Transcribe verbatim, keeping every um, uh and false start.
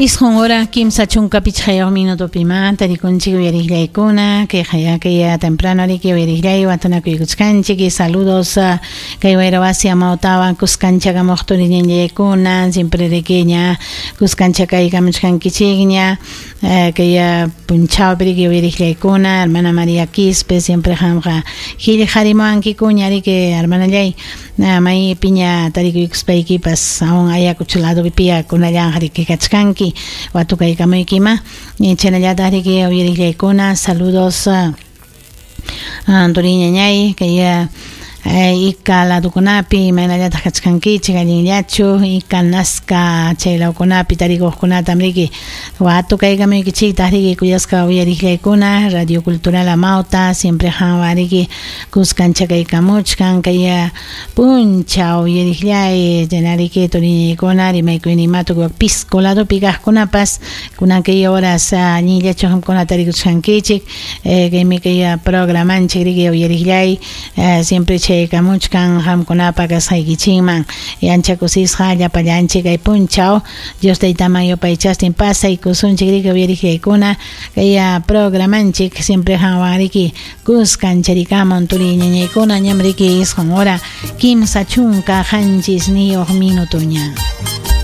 Isqun hora kimsa chunka pichqayuq minutopima tarikunchik uyariqllaykuna kay kay temprano riki uyariqllay watunakuykuchkanchik y saludos kay wayrawasi amawtawan kuskanchakamuq turiñallaykuna siempre riki ña kuskancha kaykamuchkankichikña kay punchawpi riki uyariqllaykuna hermana María Quispe siempre qamqa qillqarimuwankikuña riki hermanallay maypiña tarikuykuspaykipas aún Ayacucho ladopipiya kunallanqa riki kachkanki watukaykamuykima chaynallataq riki uyariqllaykuna saludos turiñañay kay Ika ladukunapi imaynallataq kachkankichik allinllachu Ika Nazca chay lawkunapi tarikuqkunatam riki watukaykamuykichiktaq riki kuyasqa uyariqllaykuna Radio Cultural Amauta siempre qanwan riki kuskanchakaykamuchkan kay punchaw uyariqllay chaynariki turiñaykuna rimaykuyninmatu tukuy Pisco ladopi kaqkunapas kunan kay horas allinllachu qamkuna tarikuchkankichik kaymi kay programanchik riki uyariqllay siempre chaykamuchkan qamkunapa kasqaykichikman ancha kusisqa llapallanchik kay punchaw Dios taytaman yupaychastin pasaykusunchik riki uyariqllaykuna kay programanchik siempre qanwan riki kuskancharikamun turiñañaykuna ñam riki isqun hora kimsa chunka qanchisniyuq minutuña.